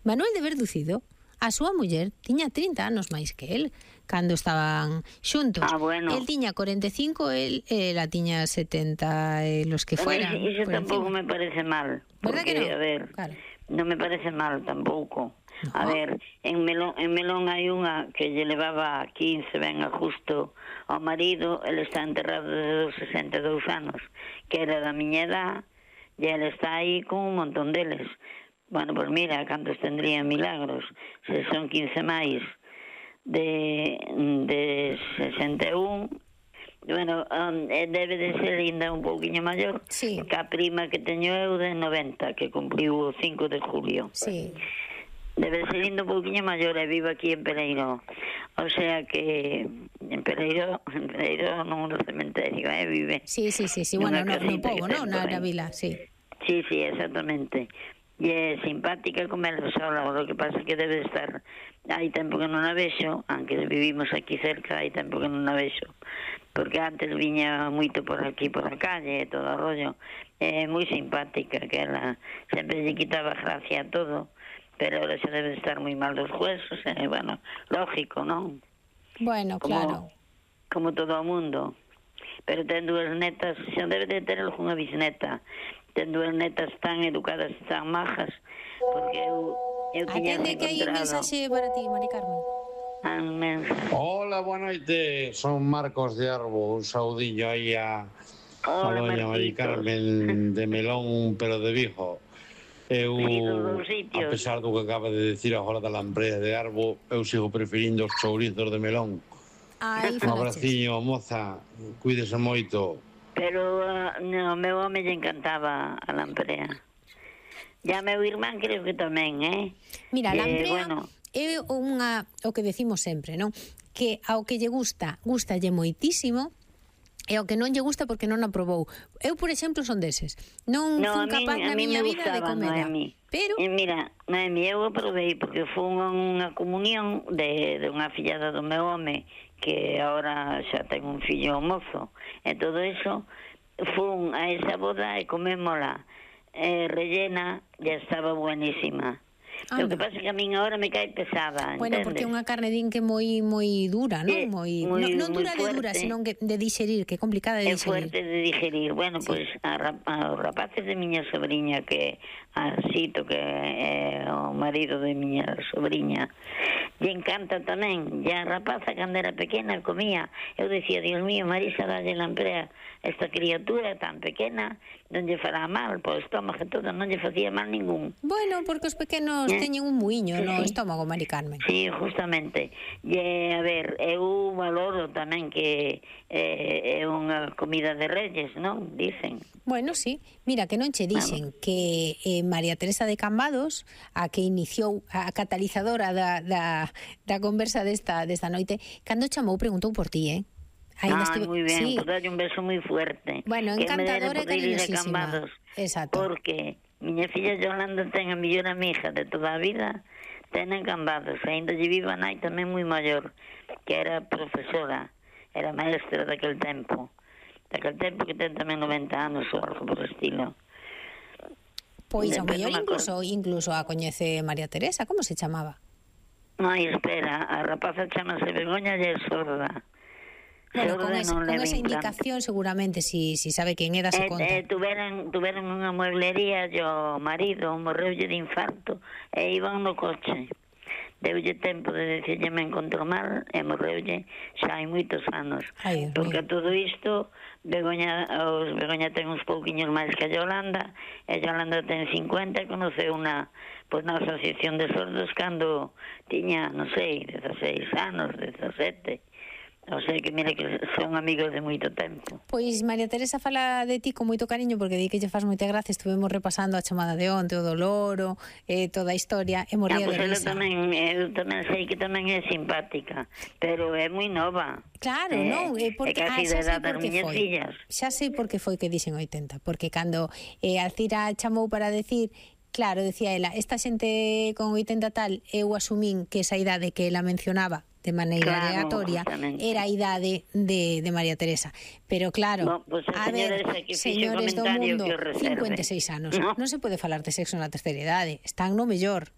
Manuel de Verducido, a súa muller tiña 30 anos máis que el cando estaban xuntos. Bueno. El tiña 45, ela tiña 70, los que fueran. Iso tampouco me parece mal. Verdad que non? A ver, claro. Non me parece mal tampouco. No. A ver, en Melón hai unha que lle levaba 15, ben a justo ao marido, ele está enterrado desde os 62 anos, que era da miña edad, e ele está aí con un montón deles. Bueno, pues mira, cantos tendrían Milagros? Se son 15 máis de 61, bueno, debe de ser ainda un pouquiño maior, sí. Que a prima que teño eu de 90, que cumpriu o 5 de julio. Sí. Debe de ser ainda un pouquiño maior e vive aquí en Pereiro. O sea que en Pereiro non no cementerio, vive. Sí, bueno, no pobo, non? Na vila, sí. Sí, exactamente. E é simpática como ela sola, o que pasa que debe estar, hai tempo que non a vexo, aunque vivimos aquí cerca, hai tempo que non a vexo, porque antes viña moito por aquí, por a calle, e todo o rollo. É moi simpática, que ela sempre lle quitaba gracia a todo, pero ahora xa debe estar moi mal dos huesos, bueno, lógico, non? Bueno, claro. Como todo o mundo. Pero ten dúas netas, xa debe de ter algunha bisneta. Ten dúas netas tan educadas, tan majas, porque eu tiña Atende que hai un mensaxe para ti, Mari Carmen. Hola, boa noite, son Marcos de Arbo, un saudillo aí a doña Mari Carmen de Melón, pero de Vigo. Eu, a pesar do que acaba de decir agora da lambrera de Arbo, eu sigo preferindo os chourizos de Melón. Un abraciño, moza, cuídese moito. Pero no, meu home lle encantaba a llamprea. Ya meu irmán creo que tamén, Mira, a llamprea é o que decimos sempre, non? Que ao que lle gustalle moitísimo, e ao que non lle gusta porque non a probou. Eu, por exemplo, son deses. Non fun capaz na miña vida de comer. Pero mira, Noemi, eu a probei porque fun a unha comunión de unha fillada do meu home que agora xa ten un fillo mozo, e todo eso, fun a esa boda e comémola rellena, e estaba buenísima. Lo que pasa é que a min agora me cae pesada, bueno, entendes? Porque é unha carne din que moi dura, non? Non dura de dura, sino que de digerir, que é complicada de digerir. É fuerte de digerir. Bueno, pois os rapaces de miña sobrinha, que Asito, que é o marido de miña sobrinha, lle encanta tamén. E a rapaza, cando era pequena, comía. Eu decía, Dios mío, Marisa, dalle lamprea, esta criatura tan pequena, non lle fará mal, po estómago e todo, non lle facía mal ningún. Bueno, porque os pequenos teñen un muiño no estómago, Mari Carmen. Sí, justamente. E, a ver, eu valoro tamén que é unha comida de reyes, non? Dicen. Bueno, sí. Mira, que non che dixen que María Teresa de Cambados, a que iniciou a catalizadora da conversa desta noite, cando chamou preguntou por ti, moi ben, sí. Pues dalle un beso moi fuerte. Bueno, encantadora e cariñosísima. Exacto. Porque miña filla Yolanda ten a mellor amiga de toda a vida, ten en Cambados, ainda lle viva nai tamén moi maior, que era profesora, era maestra daquel tempo que ten tamén 90 anos ou algo por estilo. Pois ao mellor incluso a coñece María Teresa, como se chamaba? Ai, espera, a rapaza chamase Begoña e é sorda. Bueno, con esa indicación seguramente si sabe quen é dase conta. Tuveron unha mueblería e o marido morreulle de infarto e iban no coche. Deulle tempo de decirlle me encontro mal e morreulle xa hai moitos anos. Porque a todo isto Begoña ten uns pouquiños máis que a Yolanda, e Yolanda ten 50 e conoceu na asociación de sordos cando tiña, non sei, 16 anos, 17. O sea que mira que son amigos de moito tempo. Pois María Teresa fala de ti con moito cariño, porque di que lle faz moita gracia. Estuvemos repasando a chamada de onte, o do loro, toda a historia, e morría de risa. Eu tamén sei que tamén é simpática, pero é moi nova. Claro, non? Porque casi de edad das miñas fillas. Xa sei por que foi que dixen 80, porque cando Alcira chamou para decir, claro, decía ela, esta xente con 80 tal, eu asumín que esa idade que ela mencionaba de maneira aleatoria, era a idade de María Teresa. Pero claro, a ver, señores do mundo, 56 anos, non se pode falar de sexo na terceira idade, están no mellor.